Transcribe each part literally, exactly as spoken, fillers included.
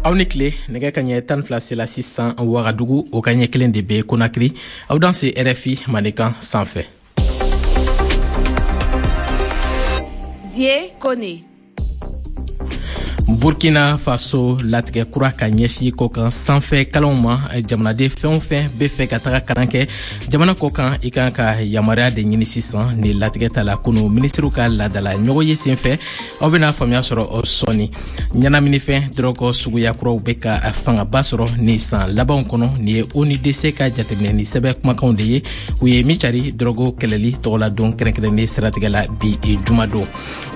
Aw ni tile. Nɛgɛ ka ɲɛ tan fila sela sisan Wagadugu, o ka ɲɛ kelen de bɛ Konakiri. Aw danse R F I Mandenkan sanfɛ. Zie Kone. Burkina Faso, latigɛ kura ka ɲɛsin kɔkan sanfɛ kalanw ma. Jamanaden fɛn o fɛn bɛ fɛ ka taga kalan kɛ jamana kɔkan, i kan ka yamaruya de ɲini sisan. Ni latigɛ ta la kunu minisiriw ka laadala ɲɔgɔn ye sen fɛ, aw bɛna faamuya sɔrɔ sɔɔni. Ɲɛnaminifɛn dɔrɔgɔ suguya kuraw bɛ ka fangaba sɔrɔ ni san labanw kɔnɔ. Nin ye O N U D C ka jateminɛni sɛbɛn kumakanw de ye, u ye min cari dɔrɔgɔ kɛlɛli tɔgɔladon kɛrɛnkɛrɛnnen siratigɛ la bi jumadon.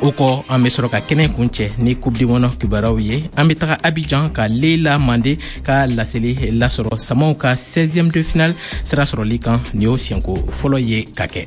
O kɔ, an bɛ sɔrɔ ka kɛnɛ kuncɛ ni Coupe du Monde kibaruyaw ye. An bɛ taga Abidjan ka Leila Mande ka laseli lasɔrɔ Samaw ka seizième de finale sira sɔrɔli kan. Nin y'o siɲɛko fɔlɔ ye ka kɛ.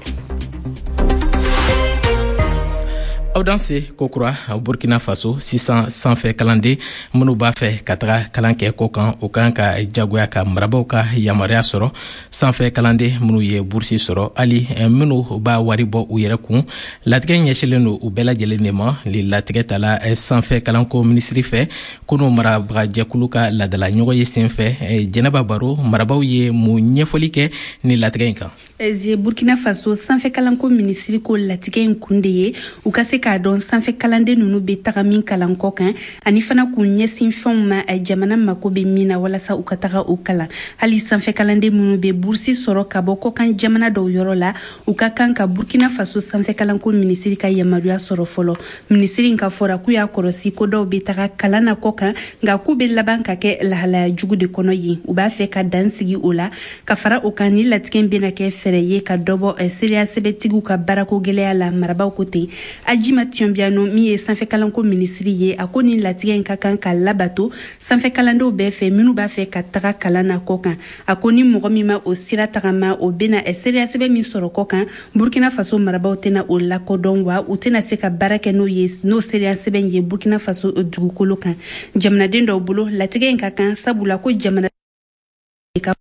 Aw danse kokura. Burkina Faso, sisan sanfɛ kalanden minnu b'a fɛ ka taga kalan kɛ kɔ kan, o kan ka jagoya ka marabaw ka yamaruya sɔrɔ. Sanfɛ kalanden minnu ye burusi sɔrɔ, hali minnu b'a wari bɔ u yɛrɛ kun, latigɛ ɲɛsilen don u bɛɛ lajɛlen de ma. Ni latigɛ tala sanfɛ kalanko minisiri fɛ kunu marabagajɛkulu ka laadala ɲɔgɔn ye sen fɛ. Jɛnɛba Baro, marabaw ye mun ɲɛfɔli kɛ ni latigɛ in kan? Zie, Burkina Faso sanfɛ kalanko minisiri ko latigɛ in kun de ye u ka se k'a dɔn sanfɛ kalanden ninnu bɛ taga min kalan kɔ kan, ani fana k'u ɲɛsin fɛnw ma jamana mako bɛ min na walasa u ka taga o kalan. Hali sanfɛ kalanden minnu bɛ burusi sɔrɔ ka bɔ kɔkan jamana dɔw yɔrɔ la, u ka kan ka Burkina Faso sanfɛ kalanko minisiri ka yamaruya sɔrɔ fɔlɔ. Minisiri in ka fɔra k'u y'a kɔlɔsi ko dɔw bɛ taga kalan na kɔ kan, nka k'u bɛ laban ka kɛ lahalaya jugu de kɔnɔ yen. U b'a fɛ ka dan sigi o la. Ka fara o kan, ni latigɛ in bɛna kɛ fɛɛrɛ ye ka dɔ bɔ seereya sɛbɛtigiw ka baarako gɛlɛya la, marabaw ko ten. Adjima Thiombiano, min ye sanfɛ kalanko minisiri ye, a ko ni latigɛ in ka kan ka labato sanfɛ kalandenw bɛɛ fɛ minnu b'a fɛ ka taga kalan na kɔ kan. A ko ni mɔgɔ min ma o sira tagama, o bɛna seereya sɛbɛn min sɔrɔ kɔ kan, Burkina Faso marabaw tɛna o lakodɔn, wa u tɛna se ka baara kɛ n'o ye, n'o seereya sɛbɛn ye Burkina Faso dugukolo kan. Jamanaden dɔw bolo, latigɛ in ka kan, sabula ko jamana ka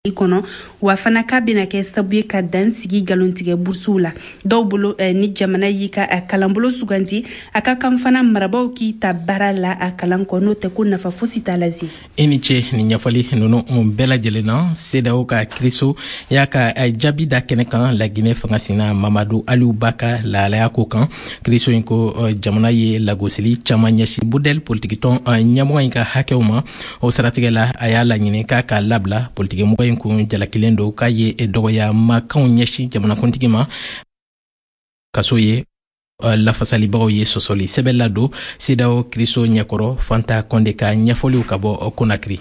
kɔnɔ, wa fana k'a bɛna kɛ sababu ye ka dan sigi nkalontigɛ burusiw la. Dɔw bolo, eh, ni jamana y'i ka kalanbolo suganti, a ka kan fana marabaw k'i ta baara la a kalan kɔ, n'o tɛ ko nafa fosi t'a la. Zie. I ni ce nin ɲɛfɔli ninnu bɛɛ lajɛlen na. CEDEAO ka kiriso y'a ka jaabi da kɛnɛ kan Laginɛ fangasina Mamadu Aliyu Ba ka lahalaya ko kan. Kiriso in ko jamana ye lagosili caman ɲɛsin MODEL politikitɔn ɲɛmɔgɔ in ka hakɛw ma. O siratigɛ la, a y'a laɲini k'a k'a labila. Politikimɔgɔ in kun jalakilen don k'a ye dɔgɔya makanw ɲɛsin jamanakuntigi ma kaso ye. Lafasalibagaw ye sɔsɔli sɛbɛn ladon CEDEAO kiriso ɲɛkɔrɔ. Fanta Kɔnde ka ɲɛfɔliw ka bɔ Konakiri.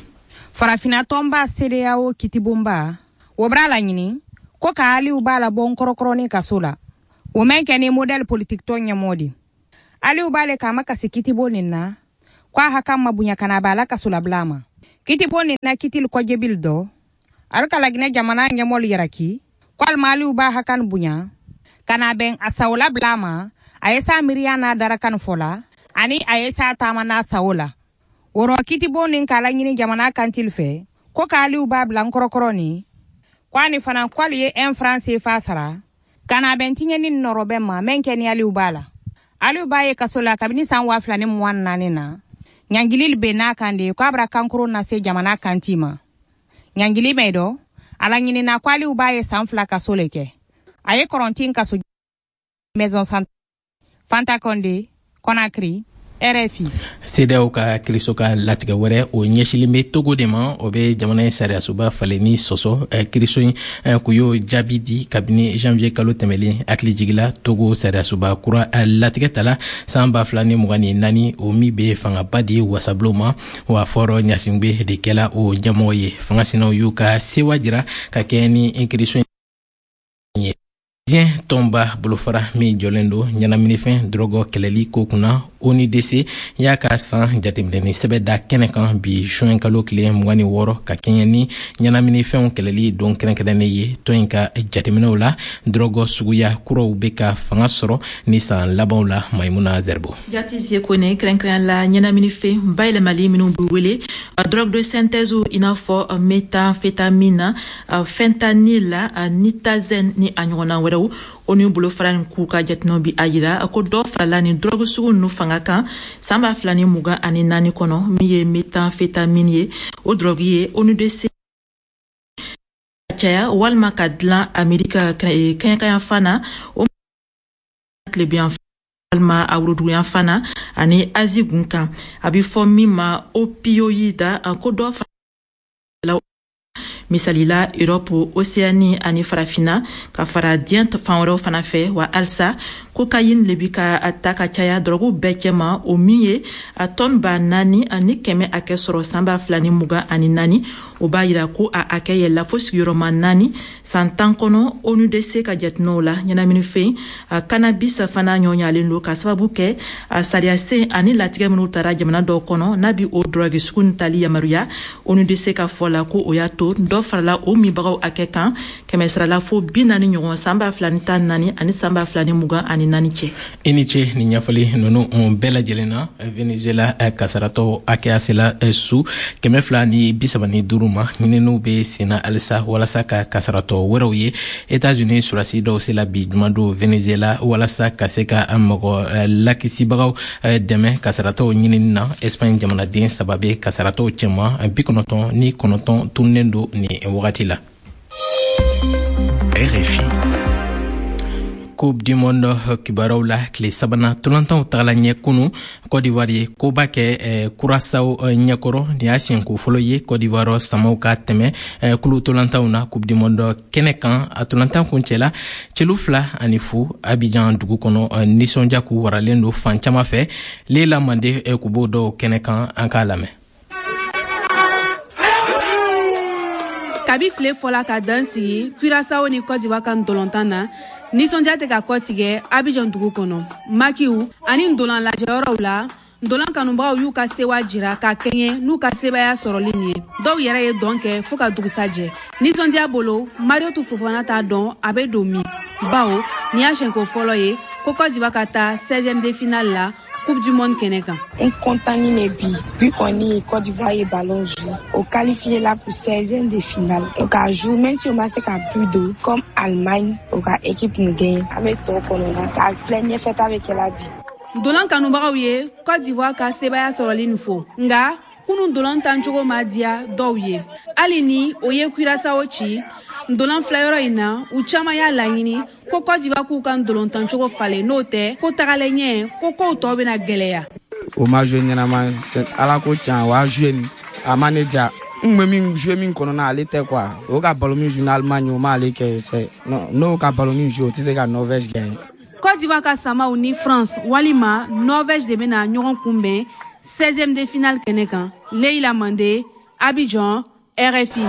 Farafina tɔnba CEDEAO kitibonba o b'a laɲini ko ka Aliyu Ba labɔ nkɔrɔkɔrɔni kaso la, o mɛn kɛ ni MODEL politique tɔn ɲɛmɔgɔ di. Aliyu Ba le k'a ma kasi kitibon nin na ko a hakan ma bonya ka na b'a la kaso labila ma. Kitibon nin na kitili kɔjɛbili dɔ ali ka Laginɛ jamana ɲɛmɔgɔlu yaraki ko alima Aliyu Ba hakan bonya ka na bɛn a sago labila ma, a ye sa miiriya n'a darakan fɔ la, ani a ye sa taama n'a sago la. O rɔ, kitibon nin k'a laɲini jamana kantili fɛ ko k'Aliyu Ba bila nkɔrɔkɔrɔ ni ko ani fana k'ale ye un franc C F A sara ka na bɛn tiɲɛni nɔrɔbɛ ma mɛn kɛ ni Aliyu Ba la. Aliyu Ba ye kaso la kabini san waa fila ni mugan naani na. Ɲangili bɛ n'a kan de k'a bara kankoro nase jamana kanti ma. Ɲangili mɛ dɔ a laɲinina ko Aliyu Ba ye san fila kaso le kɛ, a ye kɔrɔntin kaso maison centrale. Fanta Konde, Conakry, R F I. CEDEAO ka kiriso ka latigɛ wɛrɛ, o ɲɛsilen bɛ Togo de ma. O bɛ jamana in sariyasoba falenni sɔsɔ. Kiriso in k'u y'o jaabi di kabini janvier kalo tɛmɛlen. Hakili jigila, Togo sariyasoba kura latigɛ tala san ba fila ni mugan ni naani, o min bɛ fangaba di wasabulon ma, wa Faure Gnassingbé de kɛla o ɲɛmɔgɔ ye. Fangasinaw y'u ka sewa jira ka kɛ ni kiriso in ye. Diɲɛ tɔnba bolofara min jɔlen don ɲɛnaminifɛn dɔrɔgɔ kɛlɛli ko kunna, O N U D C, y'a ka san jateminɛni sɛbɛn da kɛnɛ kan bi juin kalo tile mugan ni wɔɔrɔ, ka kɛɲɛ ni ɲɛnaminifɛnw kɛlɛli don kɛrɛnkɛrɛnnen ye. Tɔn in ka jateminɛw la, dɔrɔgɔ suguya kuraw bɛ ka fanga sɔrɔ ni san labanw la. Maimuna Zerbo. Jati Kone, kɛrɛnkɛrɛn la ɲɛnaminifɛn bayɛlɛmali minnu bɛ wele drogue de synthèse, i n'a fɔ méthamphétamine, fentanyl, nitazène ni a ɲɔgɔnna wɛrɛw. wɛrɛw. O N U bolofara nin k'u ka jateminɛw bi a yira ko dɔ farala ni drogue sugu ninnu fanga kan san ba fila ni mugan ani naani kɔnɔ. Min ye méthamphétamine ye, o drogue ye O N U D C caya walima ka dilan Amerika kɛɲɛkayanfan na, o tilebiyan walima a woroduguyanfan na ani Azi gun kan, a bɛ fɔ min ma opioïde, ko dɔ fara misalila Europe, Océanie ani Farafina ka fara diɲɛ fan wɛrɛw fana fɛ. Wa halisa cocaïne le bi ka ta ka caya dɔrɔgu bɛɛ cɛma, o min ye a tɔni ba naani ani kɛmɛ hakɛ sɔrɔ san ba fila ni mugan ani naani. O b'a yira ko a hakɛ yɛlɛla fo sigiyɔrɔma naani san tan kɔnɔ, O N U D C ka jateminɛw la. Ɲɛnaminifɛn cannabis fana ɲɔɲalen don ka sababu kɛ a sariyasen ani latigɛ minnu tara jamana dɔw kɔnɔ n'a bi o dɔrɔgi sugu nin tali yamaruya. O N U D C ka fɔ la ko o y'a to dɔ farala o minbagaw hakɛ kan kɛmɛ sarala fo bi naani ɲɔgɔn san ba fila ni tan naani ani san ba fila ni mugan ani naani cɛ. I ni ce nin ɲɛfɔli ninnu bɛɛ lajɛlen na. Venezuela kasaratɔ hakɛya sela su kɛmɛ fila ni bi saba ni duuru ma. Ɲininiw bɛ senna halisa walasa ka kasaratɔ wɛrɛw ye. Etats-Unis surasi dɔw sela bi jumadon Venezuela walasa ka se ka mɔgɔ lakisibagaw dɛmɛ kasaratɔw ɲinini na. Espagne jamanaden saba bɛ kasaratɔw cɛma, bi kɔnɔntɔn ni kɔnɔntɔn tununnen don nin wagati la. R F I. Coupe du Monde kibaruyaw la, tile sabanan tolantanw tagala ɲɛ kunu, Côte d'Ivoire ye koba kɛ eh, Curaçao ɲɛkɔrɔ. Nin y'a siɲɛko fɔlɔ ye Côte d'Ivoire samaw ka tɛmɛ eh, kulu tolantanw na Coupe du Monde kɛnɛ kan. A tolantan kuncɛla celu fila ani fu Abidjan dugu kɔnɔ. Nisɔndiya k'u waralen don fan caman fɛ. Lela Mande k'u b'o dɔw kɛnɛ kan, an k'a lamɛn. Kabi file fɔla ka dan sigi Curaçao ni Côte d'Ivoire ka ntolontan na, nisɔndiya tɛ ka kɔtigɛ Abidjan dugu kɔnɔ. Makiw ani ndolan lajɛyɔrɔw la, ndolan kanubagaw y'u ka sewa jira ka kɛɲɛ n'u ka sebaya sɔrɔli nin ye. Dɔw yɛrɛ ye dɔn kɛ fɔɔ ka dugusajɛ nisɔndiya bolo. Mariotu Fofana t'a dɔn a bɛ don min, bawo nin y'a siɲɛko fɔlɔ ye ko Côte d'Ivoire ka taa seizième de finale la Coupe du Monde kɛnɛ kan. N kɔntanni ne bi bi kɔni, Côte d'Ivoire ye ballon joué, o qualifié la pour seizième de finale. O ka joué, même si o ma se ka but don comme Allemagne, o ka équipe nin gagné. An bɛ tɔ kɔnɔ k'a filɛ ɲɛfɛ ta bɛ kɛla di. Ndolan kanubagaw ye Côte d'Ivoire ka sebaya sɔrɔli nin fo, nga kunu ndolan tancogo ma diya dɔw ye. Hali ni o ye Curaçao ci ndolan filɛyɔrɔ in na, u caman y'a laɲini ko Côte d'Ivoire k'u ka ndolantancogo falen, n'o tɛ ko tagalen ɲɛ ko kow tɔ bɛna gwɛlɛya. O ma joué ɲɛnama, ala ko can, o y'a joué nin a ma ne diya. N kun bɛ min joué min kɔnɔna, ale tɛ quoi. O ka ballon min joué n'Allemagne, o m'ale kɛ. C'est non, n'o ka ballon min joué, o tɛ se ka Norvège gagner. Côte d'Ivoire ka samaw ni France walima Norvège de bɛna ɲɔgɔn kunbɛn seizième de finale kɛnɛ kan. Leila Mande, Abidjan, R F I.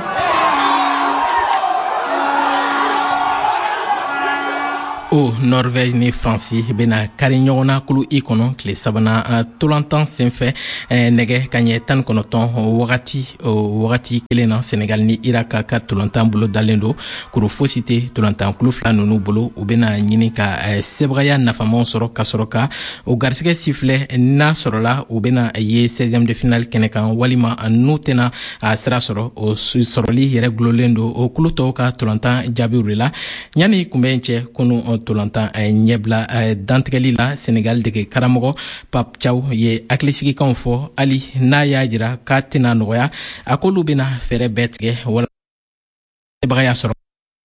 O Norvège ni Faransi bena kari ɲɔgɔn na kulu i kɔnɔ tile sabanan tolantan senfɛ nɛgɛ ka ɲɛ tan kɔnɔtɔn wagati. O wagati kelen na, Senegal ni Irak ka tolantan bolo dalen don. Kuru fosi tɛ tolantan kulu fila nunu bolo. U bena ɲini ka sebagaya nafamaw sɔrɔ ka sɔrɔ ka o garisɛgɛ sifilɛ, n'a sɔrɔla u bena ye seizième de finale kɛnɛ kan walima n'u tɛna a sira sɔrɔ. O sɔrɔli yɛrɛ gulolen don o kulu tɔw ka tolantan jaabiw de la. Ɲani kunbɛn cɛ, kunu tolantan ɲɛbila dantigɛli la, Senegal dege karamɔgɔ Pape Thiaw ye hakilisigikanw fɔ. Hali n'a y'a jira k'a tɛna nɔgɔya, a k'olu bɛna fɛɛrɛ bɛɛ tigɛ wala sebagaya sɔrɔ.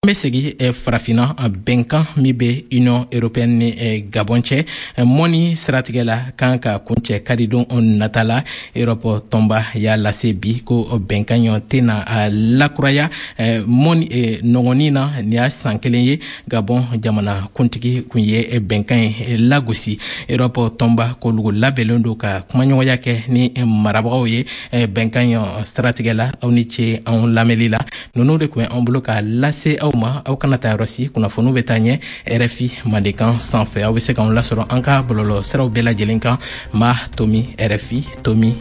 An bɛ segi farafinna. Bɛnkan min bɛ Union européenne ni Gabon cɛ mɔni siratigɛ la kan ka kuncɛ karidon nata la, Europe tɔnba y'a lase bi ko bɛnkan ɲɔ tɛna lakuraya mɔni nɔgɔnin na. Nin y'a san kelen ye Gabon jamana kuntigi kun ye bɛnkan ye lagosi. Europe tɔnba k'olu labɛnlen don ka kumaɲɔgɔnya kɛ ni marabagaw ye bɛnkan ɲɔ siratigɛ la. Aw ni ce anw lamɛnli la. Ninnu de kun ye anw bolo ka lase aw ma. Aw kana taa yɔrɔ si, kunnafoniw bɛ taa ɲɛ R F I Mandenkan sanfɛ. Aw bɛ se k'anw lasɔrɔ an ka bɔlɔlɔ siraw bɛɛ lajɛlen kan, ma tomi R F I tomi.